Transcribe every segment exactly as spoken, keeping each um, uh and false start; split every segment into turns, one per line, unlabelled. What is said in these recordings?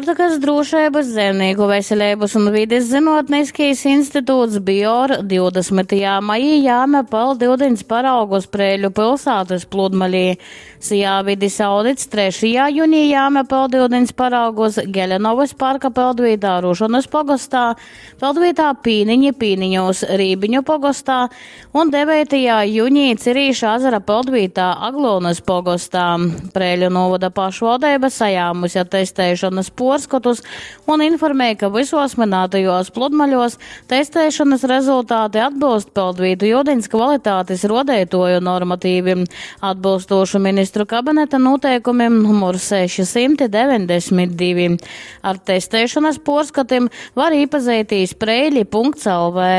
Puortykas drūšeibys, zeimnīku veseleibys un vides zynuotniskais instituts BIOR divdasmytajā majī jāme peldiudiņs paraugus Preiļu pilsātys pludmalī. SIA Vidis audits trešajā junī jāme peldiudiņs paraugus Gelenovys parka peldvītā Rušonys pogostā, peldvītā Pīniņi Pīniņūs Rībiņu pogostā un deveitajā junī Cirīša azara peldvītā Aglūnys pogostā. Preiļu novada pašvaldeiba sajāmuse testēšanas puorskotus un informēja, ka visos minētajos pludmaļos testēšanas rezultāti atbilst peldvītu iudiņs kvalitātes rodeitoju normatīvim, atbilstošu ministru kabineta noteikumim numur seši simti deviņdesmit divi. Ar testēšanas puorskatim var iepazīties preili punkts L V.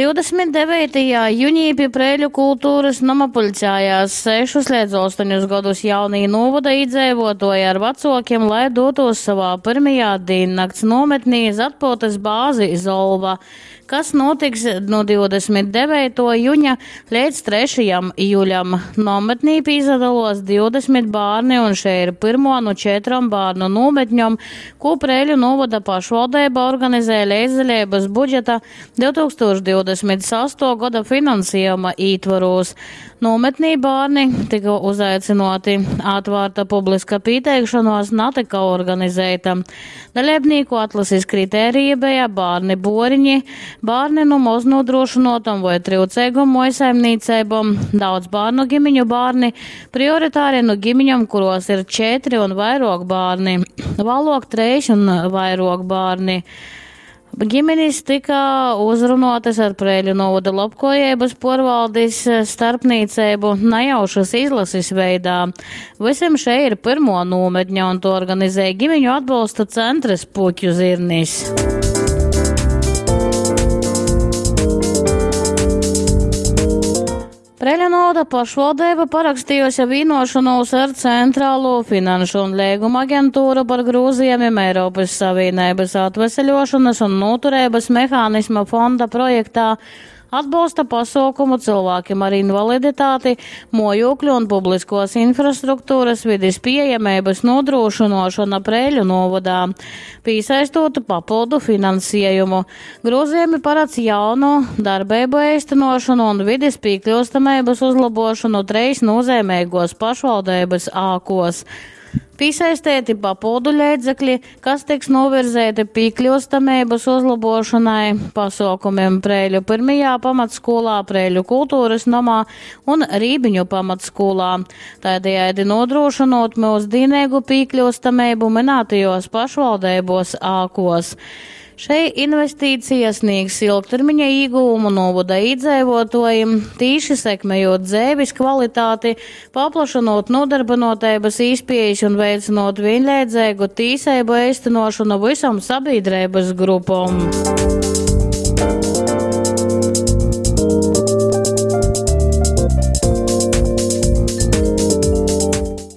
Divdesmit deveitajā junī pie Preiļu kultūras nama pulcējās sešus līdz astoņus gadus jaunī novada iedzīvotāji ar vecokiem, lai dotos savā pirmajā diennakts nometnī uz atpūtas bāzi Zolva, kas notiks no divdesmit deveito juņa līdz trešajam jūļam. Nometnī pīzadalos divdesmit bērni, un šeit ir pirmo no četrom bērnu nometņom, ko Preiļu novada pašvaldība organizē līdzdalības budžeta divtūkstoš divdesmit sesto gada finansējuma ītvaros. Nometnī bērni tika uzaicināti, atvērta publiska pieteikšanos netika organizēta. Dalībnieku atlases kritērija bija bērni boriņi, bērni no moznodrošinotam vai trūcīgam mojsaimniecībām, daudz bērnu ģimeņu bērni, prioritāri no ģimeņam, kuros ir četri un vairāk bērni, vēlāk trīs un vairāk bērni. Ģimenes tika uzrunotas ar Preiļu novada lobkojības porvaldis starpniecību nejaušas izlases veidā. Visiem šeit ir pirmo nometņa un to organizēja ģimeņu atbalsta centrs Puķu zirnis. Preiļu novada pašvaldība parakstījusi vienošanos ar Centrālo finanšu un līguma aģentūru par grūzījumiem Eiropas Savienības atveseļošanas un noturības mehānisma fonda projektā atbalsta pasaukumu cilvēkiem ar invaliditāti, mojokļu un publiskos infrastruktūras vides pieejamības nodrošinošana Preiļu novadā, piesaistot papildu finansējumu. Grozījumi paredz jaunu darbību īstenošanu un vides piekļūstamības uzlabošanu treis nozīmīgos pašvaldības ākos. Piesaistīti papildu līdzekļi, kas tiks novirzēti piekļūstamības uzlabošanai, pasaukumiem Preiļu pirmajā pamatskolā, Preiļu kultūras namā un Rībiņu pamatskolā. Tādējādi nodrošinot mūsdienīgu piekļūstamību minētajos pašvaldībos ākos. Šai investīcija sniegs ilgtermiņa ieguvumu novada iedzīvotājiem, tīši sekmējot dzīves kvalitāti, paplašinot nodarbinotības īspējas un veicinot vienlīdzīgu tīsību īstenošanu visam sabiedrības grupom.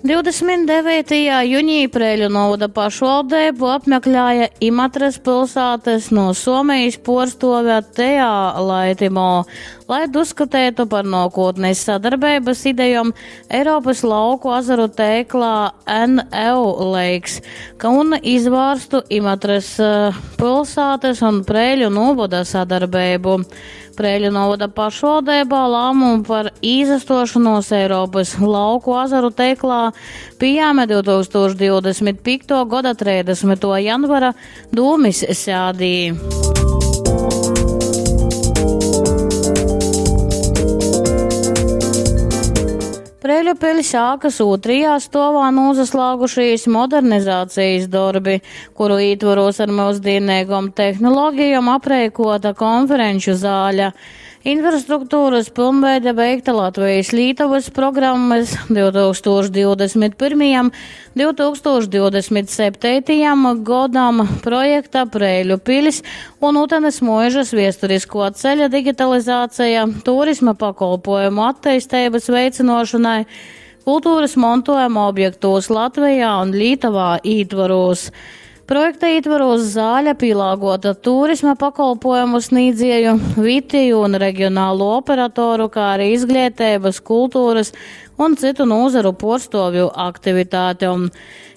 Divdesmit devītajā jūnijā Preiļu novada pašvaldību apmeklēja Imatras pilsētas no Somijas porstove Teā Laitimo, lai diskutētu par nākotnes sadarbības idejām Eiropas lauku azaru tēklā N E U Lakes, ka un izvārstu Imatras, eh, pilsētas un Preiļu novada sadarbību. Preiļu novada pašvaldībā lēmumu par izastošanos Eiropas lauku azaru tēklā pieņēma divtūkstoš divdesmit piekto gada trīsdesmito janvara dūmis sēdī. Preiļu pils ākas otrajā stovā nozaslāgušies modernizācijas darbi, kuru ietvaros ar mūsdienīgām tehnoloģijām aprēkota konferenču zāle. Infrastruktūras pilnveide veikta Latvijas Lītuvas programmas divtūkstoš divdesmit pirmajam, divtūkstoš divdesmit septītajam godam projekta Preiļu pilis un Utenes muižas viesturisko ceļa digitalizācija, turisma pakolpojumu attīstības veicinošanai, kultūras montojuma objektos Latvijā un Lietuvā ietvaros. Projekta ietvaros zāle pielāgota turisma pakolpojumu sniedzēju, vietēju un reģionālo operatoru, kā arī izglītības, kultūras un citu nozaru portstovju aktivitātēm.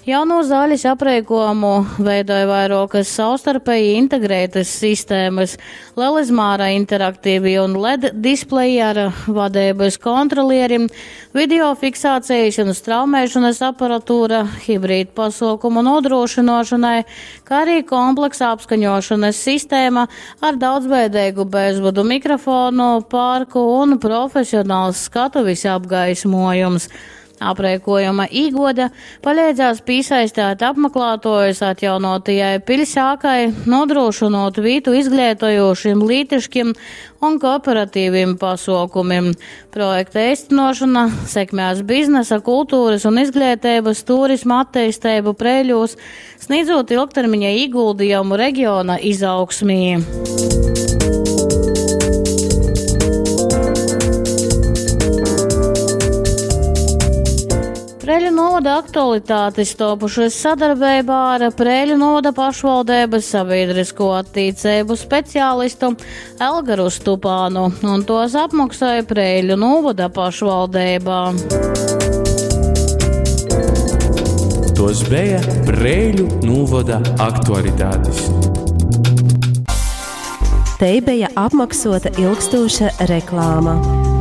Jauno zāles aprēkojumu veidoja vairākas savstarpēji integrētas sistēmas, lielizmēra interaktīvi un L E D displeji ar vadības kontrolierim, video fiksācijas un straumēšanas aparatūra, hibrīd pasaukumu nodrošināšanai, kā arī kompleksa apskaņošanas sistēma ar daudzveidīgu bezvadu mikrofonu, parku un profesionāls skatuves apgaismojums. Aprēkojuma īgoda palīdzēs piesaistīt apmeklētājus atjaunotajai pilsēkai, nodrošinot vietu izglītojošiem lītiškiem un kooperatīviem pasaukumiem. Projekta īstenošana sekmēs biznesa, kultūras un izglītības turisma attīstību Preiļos, sniedzot ilgtermiņa ieguldījumu reģiona izaugsmī. Preiļu novada aktualitātes topušas sadarbībā ar Preiļu novada pašvaldības sabiedrisko attīcību speciālistu Elgaru Stupānu, un tos apmaksāja Preiļu novada pašvaldībā.
Tos bija Preiļu novada aktualitātes.
Te bija apmaksota ilgstoša reklāma.